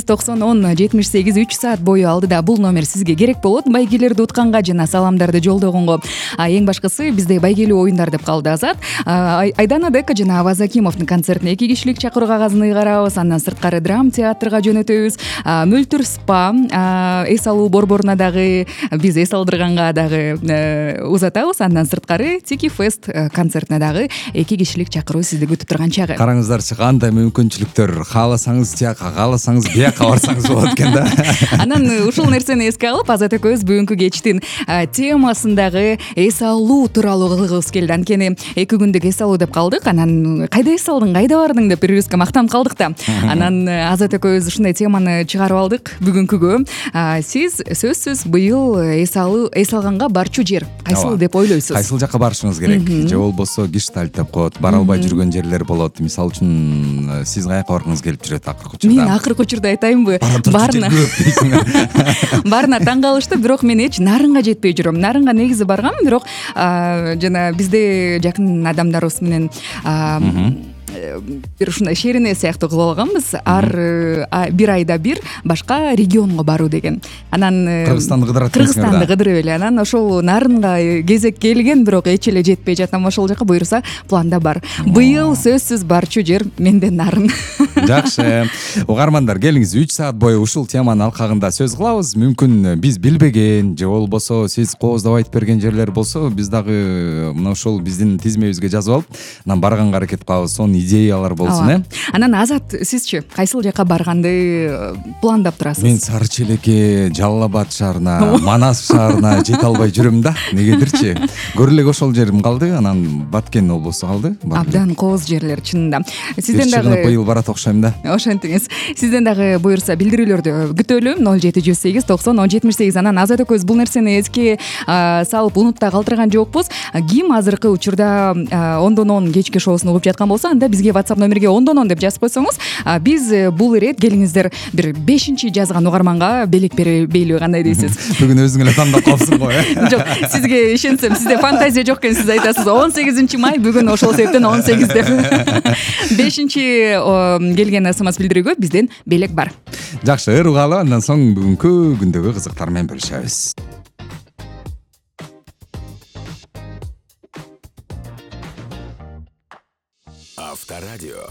90-10-78 3 саат бою алдыда бул номер сизге керек болот. Байгелерди утканга жана саламдарды жолдогонго. Эң башкысы бизде байгелүү оюндар деп калды Азат. Айдана Дека жана Аваз Акимовдун концертине 2 кишилик чакыруу кагазын ыйгарабыз. Андан сырткары драм театрга жөнөтөбүз. Мөлтүр спа, эс алуу борборуна дагы биз эс алдырганга дагы узатабыз. Андан сырткары Тики Фест концертине дагы 2 кишилик чакыруу сизди күтүп турган чагы. Караңыздарчы, кандай мүмкүнчүлүктөр. Кааласаңыз тияка, кааласаңыз бияка барсаңыз болот экен да. Анан ушул нерсени эске алып, Азат экөөбүз бүгүнкү кечтин темасындагы эс алуу тууралуу кылгыбыз келди. Анткени 2 күндүк эс алуу деп калдык. Анан кайда эс алдың, кайда бардың деп бири-бирибизге мактанып калдык да. Анан Азат экөөбүз ушундай теманы чыгарып алдык бүгүнкүгө. Сиз сөзсүз быйыл эс алганга барчу жер кайсыл деп ойлойсуз? Кайсыл жакка барышыңыз керек? Же болбосо гештальт деп коет, бара албай жүргөн жерлер болот. Мисалы үчүн сиз каяка баргыңыз келип жүрөт акыркы учурда? Мен акыркы учурда айтайынбы? Баарына таң калышты, бирок мен эч Нарынга жетпей жүрөм. Нарынга негизи баргам, бирок жана бизде жакын адамдарыбыз менен бир ушундай шерине сыяктуу кылып алганбыз. Ар бир айда бир башка регионго баруу деген. Анан Кыргызстанды кыдырып эле. Анан ошол Нарынга кезек келген, бирок эч эле жетпей жатам ошол жака. Буюрса планда бар. Быйыл сөзсүз барчу жер менде Нарын. Жакшы. Угармандар, келиңиз 3 саат бою ушул теманын алкагында сөз кылабыз. Мүмкүн биз билбеген же болбосо сиз кооздоп айтып берген жерлер болсо, биз дагы мына ошол биздин тизмебизге жазып алып, анан барганга аракет кылабыз. Сонун идеялар болсун, Анан Азат, сизчи кайсыл жака барганды пландап турасыз? Мен Сары Челекке, Жалал Абад шаарына, Манас шаарына жете албай жүрөм да. Негедирчи? Көрө элек ошол жерим калды, анан Баткен облусу калды. Абдан кооз жерлер чынында. Сизден дагы быйыл барат окшойм да. Ошентиңиз. Сизден дагы буюрса билдирүүлөрдү күтөлүм. 0708 90 1078. Анан Азат экөөбүз бул нерсени эске салып унутта калтырган жокпуз. Ким азыркы учурда 10-10 кечки шоусун угуп жаткан болсо, анда бизге WhatsApp номерге 10-10 деп жазып койсоңуз, биз бул ирет келиңиздер бир 5-чи жазган угарманга белек бербейлиби, кандай дейсиз? Бүгүн өзүң эле тандап калсың го, Жок, сизге ишенсем, сизде фантазия жок экен, сиз айтасыз 18 май бүгүн ошол себептен 18 деп. 5-чи келген СМС билдирүүгө бизден белек бар. Жакшы, ыргалы, андан соң бүгүнкү күндөгү кызыктар менен бөлүшөбүз. Авторадио.